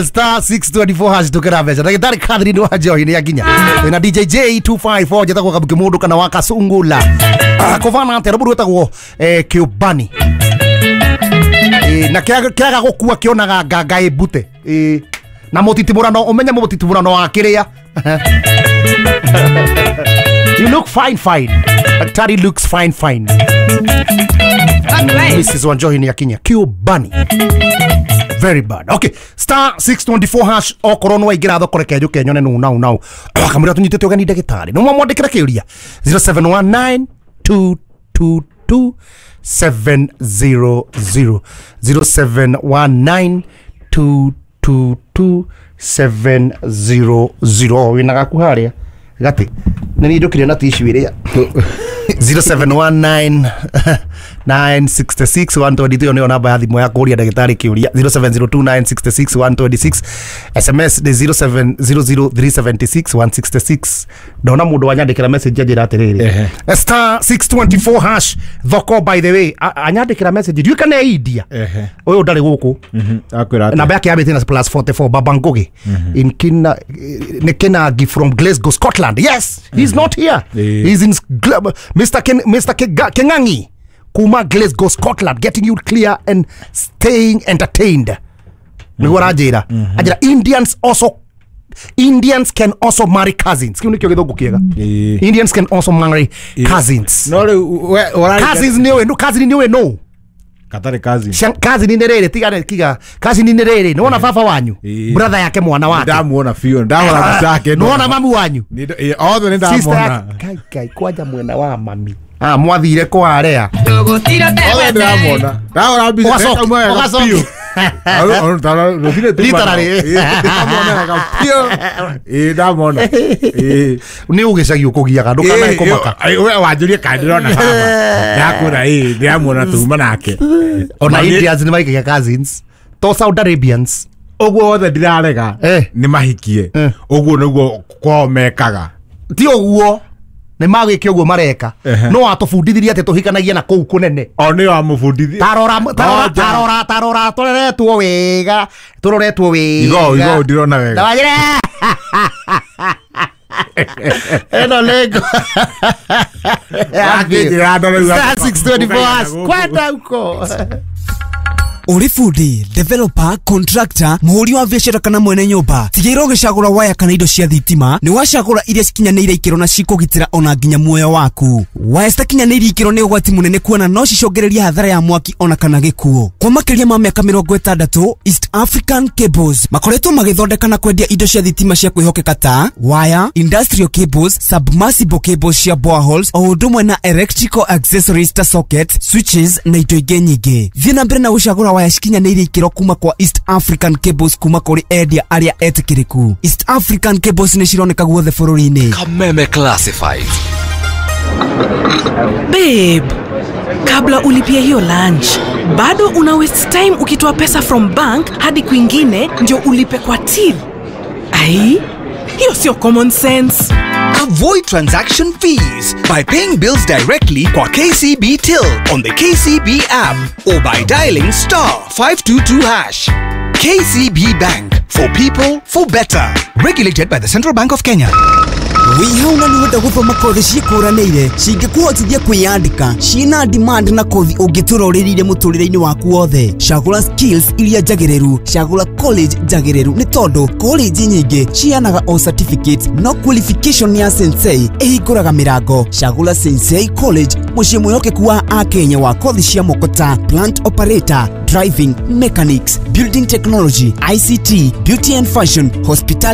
Star 624 hash tukera mbeca. Ndagĩtarĩ Catherine wa Njohi nĩ akinya. Na DJ J254 njĩtagwo Kabuki Mũndũ kana wa Kasungula. Kũbana atĩa rũburu wĩtagwo Kĩũmbani. Na kĩaga gũkua kĩonaga nganga ĩmbute. Na mũtitimũrano ũmenye mũtitimũrano wa kĩrĩa. You look fine fine. Daktari looks fine fine. Mrs. Wanjohi ni akinya. Kĩũmbani. Very bad. Okay, star 624 hash okorwo no waingĩra thoko reke njũke nyone nũ nau nau. Kamũira tũnyitĩte ũgeni ndagĩtarĩ. No mwamwandĩkĩra kĩũria 0719 222 700 0719 222 700. Wĩna gaku harĩa gati nĩ niĩ njũkire na tissue ĩrĩa 0719 966 122 nĩyo namba ya thimũ ya kũũria ndagĩtarĩ kĩũria. 0702 966 126 SMS nĩ 0700 376 166. Ndona mũndũ wanyandĩkĩra message anjĩra atĩrĩrĩ, star 624 hash thoko, by the way, anyandĩkĩra message ndiũĩ kana India ũyũ ndarĩ gũkũ. Namba yake yambĩtie na plus 44. Baba Ngugi in Kina nĩ Kinagi from Glasgow, Scotland. Yes, he's not here. He's in Mr. Ken, Mr. Kengangi kuma Glasgow, Scotland, getting you clear and staying entertained. Nĩguo aranjĩra. Anjĩra Indians can also marry cousins. Kĩu nĩkĩo gĩthũngũ kĩega. Indians can also marry cousins. No rĩu cousins nĩ ũĩ, cousin nĩ ũĩ no. Katarĩ cousin. Cousin nĩ rĩrĩ tiga kiga. Cousin nĩ rĩrĩ. Nĩwona baba wanyu. Brother yake mwana wake. Ndamuona biũ, ndahũra mbica yake. Nĩwona mamu wanyu. Othe nĩ ndamuona. Kai kai kwanja mwena wa mami. Mwathire kwarea. Othe ndĩramona. Ndahũra mbica ndekauma wega biũ. Ndamona. Nĩ ũgĩcagi ũkũgiaga ndũkanae kũmaka. We wanjũrie kana ndĩrona baba. Ndakwĩra ĩĩ ndĩramuona tuma nake. Ona Indians nĩ maikagia cousins. To Saudi Arabians. Ũguo wothe ndirarega nĩ mahikie. Ũguo nĩguo kwao mekaga. Ti ũguo. Nĩ magwĩke ũguo mareka. No watũbundithirie atĩ tũhikanagia na kũu kũnene. O nĩ wamũbundithia. Tarora tarora tarora tũreretwo wega. Tũroretwo wega. Igo igo ndirona wega. Ndawajĩra. Eno lego. Wakĩnjĩra ndore Star 624 kwenda uko. Ũrĩ bundi, developer, contractor, mũhũri wa biacara kana mwene nyũmba, tigĩrĩra ũgĩcagũra waya kana indo cia thitima nĩ wacagũra iria cikinyanĩire ikĩro na cikũgitĩra ona nginya muoyo waku. Waya citakinyanĩirie ikĩro nĩ ũgwati mũnene kuona no cicũngĩrĩrie hathara ya mwaki ona kana gĩkuũ. Kwa makĩria ma mĩaka 60, East African Cables makoretwo magĩthondeka na kwendia indo cia thitima cia kwĩhokeka ta waya, industrial cables, submersible cables cia boreholes, o ũndũ ũmwe na electrical accessories ta sockets, switches na indo ingĩ nyingĩ. Thiĩ na mbere na gũcagũra waya cikinyanĩirie ikĩro kuma kwa East African Cables kuma kũrĩ endia arĩa etĩkĩrĩku. East African Cables nĩ cironeka guothe bũrũri-inĩ. Kameme Classified. Babe, kabla ulipie hiyo lunch, bado una waste time ukitoa pesa from bank hadi kwingine ndio ulipe kwa till. Ai, hiyo sio common sense. Avoid transaction fees by paying bills directly kwa KCB Till on the KCB app or by dialing star 522 hash. KCB Bank, for people, for better. Regulated by the Central Bank of Kenya. Wĩhauna nĩ wenda gũthoma kothi ciĩkũranĩire cingĩkũhotithia kwĩyandĩka ciĩna demand na kothi ũngĩtũra ũrĩrĩire mũtũrĩre-inĩ waku wothe. Cagũra skills iria njagĩrĩru, cagũra college njagĩrĩru nĩ tondũ college nyingĩ ciheanaga o certificates no qualification ya Sensei ĩhingũraga mĩrango. Cagũra Sensei College, mũciĩ mwĩhokeku wa akenya wa kothi cia moko ta plant operator, driving, mechanics, building technology, ICT, beauty and fashion, hospitality.